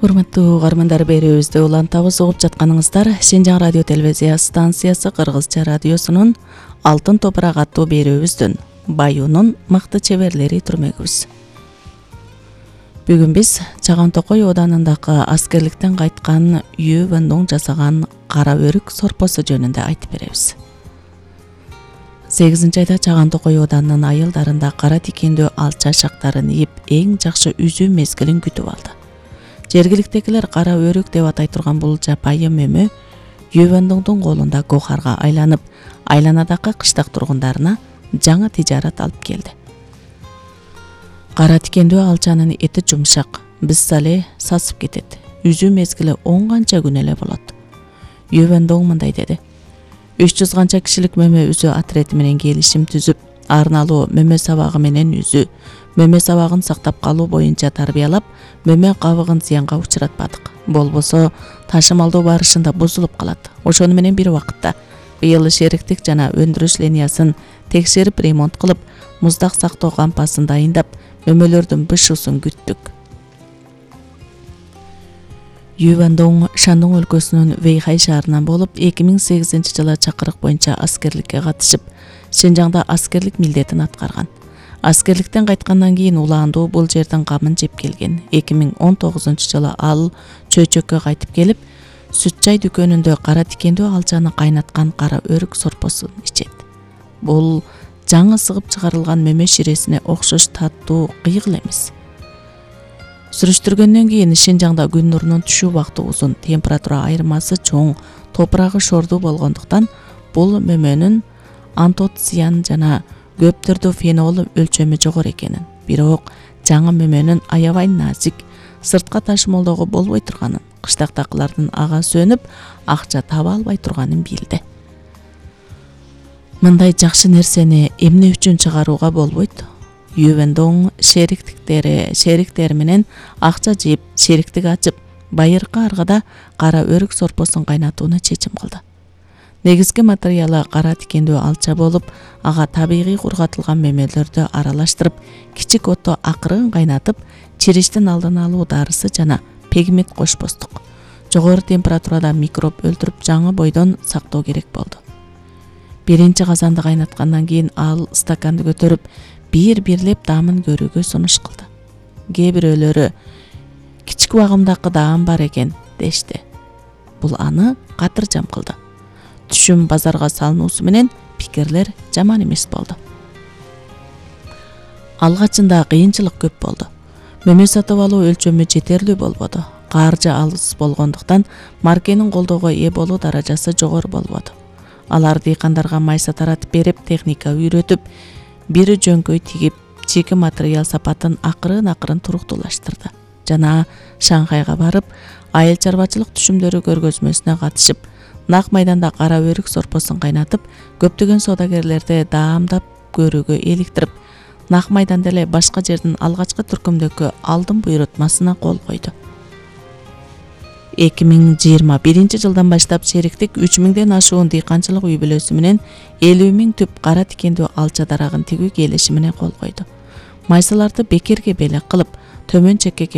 Урматтуу угармандар, берүүбүздү улантабыз. Угуп жатканыңыздар Шинжаң радио телевизия станциясы Кыргызча радиосунун Алтын топурак аттуу берүүбүздүн Баюунун мыкты чеберлери түрмөгүбүз. Бүгүн биз Чаган Токой ооданындагы аскерликтен кайткан Ю Вэндоң жасаган кара өрүк сорпосу жөнүндө айтып беребиз. 8-айда Чаган Токой ооданынын айылдарында кара тикендүү алча шактарын ийип, эң жакшы үзүү мезгилин күтүп алды. Жергиликтегилер кара өрүк деп атай турган бул жапайы мөмө Ю Вэндоңдун колунда гохарга айланып, айланадагы кыштак тургундарына жаңы тижарат алып келди. Кара тикендүү алчанын эти жумшак, бизсале сасып кетет. Үзүү мезгили 10 канча күн эле болот. Ю Вэндоң мындай деди: 300 канча кишилик мөмө үзүү атрети менен келишим түзүп, арналуу мөмө сабагы менен үзүү, мөмө сабагын сактап калуу боюнча тарбиялап, мөмө кабыгын зыянга учуратпадык. Болбосо ташымалдоо барышында бузулуп калат. Ошону менен бир убакытта быйыл шериктик жана өндүрүш линиясын текшерип, ремонт кылып, муздак сактоо кампасын дайындап, мөмөлөрдүн бышуусун күттүк. Ю Вэндоң Шандong өлкөсүнүн Вэйхай шаарынан болуп, 2008-жылы чакырык боюнча аскерликке катышып, Шинжаңда аскерлик милдетин аткарган. Аскерликтен кайткандан кийин улаандуу бул жердин камын жеп келген. 2019-жылы ал чөйчөккө кайтып келип, сүт чай дүкөнүндө кара тикендүү алчаны кайнаткан кара өрүк сорпосун ичет. Бул жаңы сыгып чыгарылган мөмө ширесине окшош таттуу кыйгыл эмес. Сүрүштүргөндөн кийин Шинжаңда күн нурунун түшүү убакыты узун, температура айырмасы чоң, топурагы шордуу болгондуктан бул мөмөнүн антоциан жана көп түрдүү фенол өлчөмү жогору экенин, бирок жаңы мөмөнүн аябай назик, сыртка ташымалоого болбой турганын, кыштактакылардын ага сөнүп, акча таба албай турганын билди. Мындай жакшы нерсени эмне үчүн чыгарууга болбойт? Ю Вэндоң шериктери менен акча жыйып, шериктик ачып, байыркы аргада кара өрүк сорпосун кайнатууну чечим кылды. Негизги материалы кара тикендүү алча болуп, ага табигый кургатылган мөмөлөрдү аралаштырып, кичик отто акырын кайнатып, чириштин алдын алуу дарысы жана пегмент кошпостук. Жогору температурада микроб өлтүрүп, жаңы бойдон сактоо керек болду. Биринчи казанды кайнаткандан кийин ал стаканды көтөрүп, бир-бирлеп даамын көрүүгө сунуш кылды. Кээ бирөөлөрү кичик убагымдагы даам бар экен дешти. Бул аны катыржам кылды. Түшүм базарга салынуусу менен пикирлер жаман эмес болду. Алгачында кыйынчылык көп болду. Мөмө сатып алуу өлчөмү жетерлүү болбоду. Каржы алыс болгондуктан маркенин колдоого ээ болуу даражасы жогору болбоду. Алар дыйкандарга майса таратып берип, техника үйрөтүп, бири жөңкөй тигип, чеки материал сапатын акырын туруктуулаштырды. Жана Шанхайга барып, айыл чарбачылык түшүмдөрү көргөзмөсүнө катышып, нак майданда кара өрүк сорпосун кайнатып, көптөгөн соодагерлерди даамдап көрүүгө иликтирип, нак майданда эле башка жердин алгачкы түркүмдөгкө алдын буйрутмасына кол койду. 2021-жылдан баштап шериктик 3000ден ашуун дыйканчылык үй бүлөсү менен 50 000 түп кара тикендүү алча дарагын тигүү келишимине кол койду. Майсаларды бекерге белек кылып, төмөн чекке